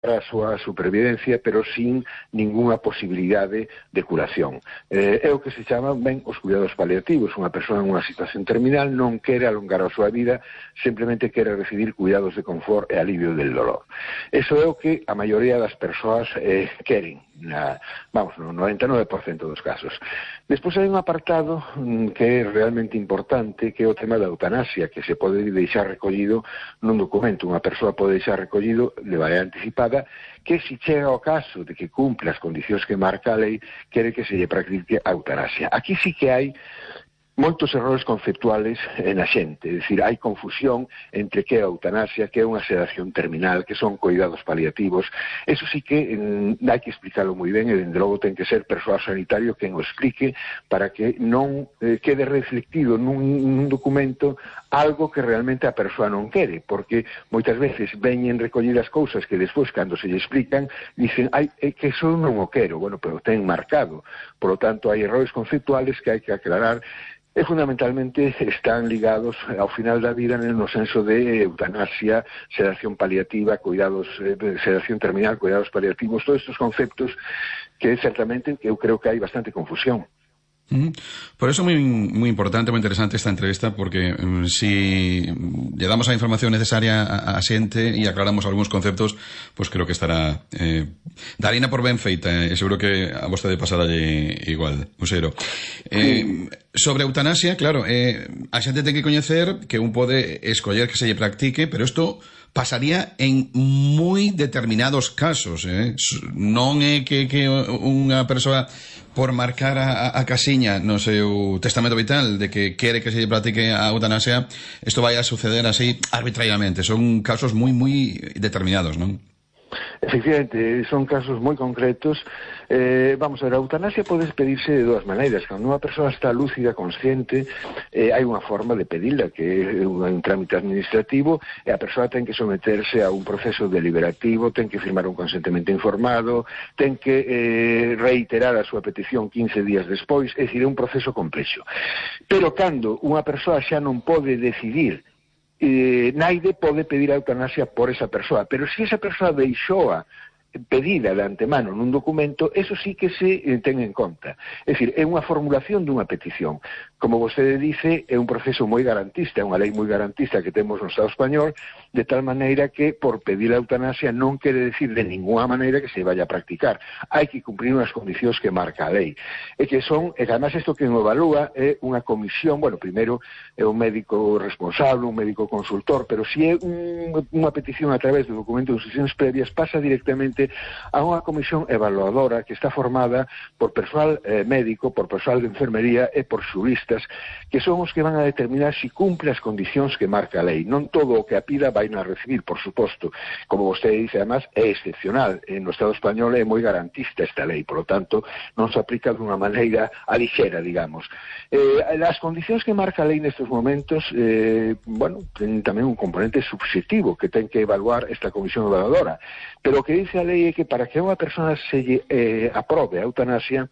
a súa supervivencia, pero sin ningunha posibilidade de curación. É o que se chama ben os cuidados paliativos. Unha persoa en unha situación terminal non quere alongar a súa vida, simplemente quere recibir cuidados de confort e alivio del dolor. Eso é o que a maioría das persoas queren, no 99% dos casos. Despois hai un apartado que é realmente importante, que é o tema da eutanasia, que se pode deixar recollido nun documento. Unha persoa pode deixar recollido de maneira anticipada que se chega ao caso de que cumpla as condicións que marca a lei, quere que se lle practique a eutanasia. Aquí sí que hai moitos errores conceptuales na xente, é dicir, hai confusión entre que é a eutanasia, que é unha sedación terminal, que son cuidados paliativos. Eso sí que hai que explicarlo moi ben, e dende logo ten que ser persoal sanitario quen o explique para que non quede reflectido nun documento algo que realmente a persoa non quere, porque moitas veces veñen recollidas cousas que despois, cando se lle explican, dicen, que eso non o quero, bueno, pero ten marcado. Por lo tanto, hai errores conceptuales que hai que aclarar, e fundamentalmente están ligados ao final da vida no senso de eutanasia, sedación paliativa, cuidados, sedación terminal, cuidados paliativos, todos estes conceptos que certamente eu creo que hai bastante confusión. Por eso es muy importante, muy interesante esta entrevista, porque si le damos la información necesaria a xente y aclaramos algunos conceptos, pues creo que estará darina por ben feita, seguro que a vostede pasará igual, Useiro. Sobre eutanasia, claro, a xente ten que coñecer que un pode escoller que se lle practique, pero isto pasaría en moi determinados casos, non é que unha persoa por marcar a casiña no seu testamento vital de que quere que se lle practique a eutanasia, isto vai a suceder así arbitrariamente. Son casos moi determinados, non? Efectivamente, son casos moi concretos. Vamos a ver, a eutanasia pode pedirse de dúas maneiras. Cando unha persoa está lúcida, consciente, hai unha forma de pedila, que é un trámite administrativo, e a persoa ten que someterse a un proceso deliberativo, ten que firmar un consentimento informado, ten que reiterar a súa petición 15 días despois, é dicir, é un proceso complexo. Pero cando unha persoa xa non pode decidir, naide pode pedir a eutanasia por esa persoa, pero se esa persoa deixoa pedida de antemano nun documento, eso sí que se ten en conta. É dicir, é unha formulación dunha petición. Como vostede dice, é un proceso moi garantista, é unha lei moi garantista que temos no Estado español, de tal maneira que por pedir a eutanasia non quere decir de ninguna maneira que se vaya a practicar. Hai que cumprir unhas condicións que marca a lei. E que son, e además isto que o evalúa é unha comisión, bueno, primeiro é un médico responsable, un médico consultor, pero se é unha petición a través de documento de instruccións previas, pasa directamente a unha comisión evaluadora que está formada por persoal médico, por persoal de enfermería e por xuristas, que son os que van a determinar se cumple as condicións que marca a lei. Non todo o que a pida vai a recibir, por suposto. Como vostede dice, además, é excepcional. No Estado español é moi garantista esta lei, por lo tanto, non se aplica dunha maneira alixera, digamos. As condicións que marca a lei nestes momentos, bueno, ten tamén un componente subxectivo que ten que evaluar esta comisión evaluadora. Pero o que dice a lei é que para que unha persona se aprobe a eutanasia,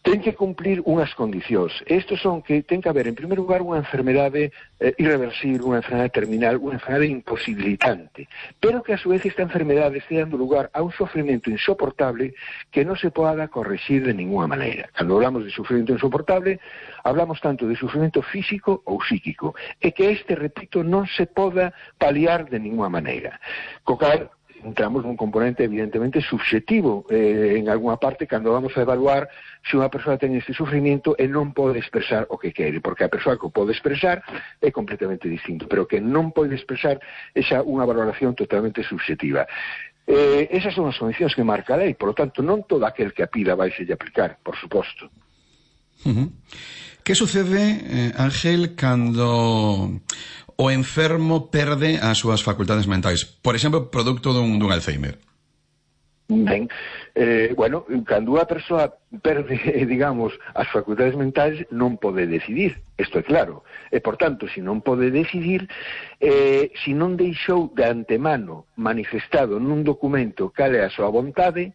ten que cumplir unhas condicións. Estos son que ten que haber, en primeiro lugar, unha enfermedade irreversible, unha enfermedade terminal, unha enfermedade imposibilitante, pero que a su vez esta enfermedade este dando lugar a un sofrimento insoportable que non se poda corregir de ninguna maneira. Cando hablamos de sufrimento insoportable, hablamos tanto de sufrimento físico ou psíquico, e que este, repito, non se poda paliar de ninguna maneira. Co cal, entramos nun componente evidentemente subxectivo en alguna parte cando vamos a evaluar se unha persoa ten este sufrimiento e non pode expresar o que quere, porque a persoa que o pode expresar é completamente distinto, pero que non pode expresar é xa unha valoración totalmente subxectiva. Esas son as condicións que marca a lei, por lo tanto non todo aquel que a pida vai se aplicar, por suposto. Que sucede, Ángel, cando o enfermo perde as súas facultades mentais? Por exemplo, producto dun Alzheimer. Ben, bueno, cando unha persoa perde, digamos, as facultades mentais non pode decidir, isto é claro. E, por tanto, se non pode decidir, se non deixou de antemano manifestado nun documento cal é a súa vontade,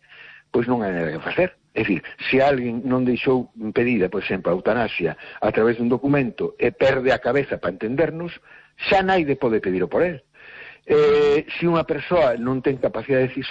pois non hai nada que facer. É dicir, se alguén non deixou pedida, por exemplo, a eutanasia a través dun documento e perde a cabeza para entendernos, xa naide pode pedir por él. se unha persoa non ten capacidade decisoria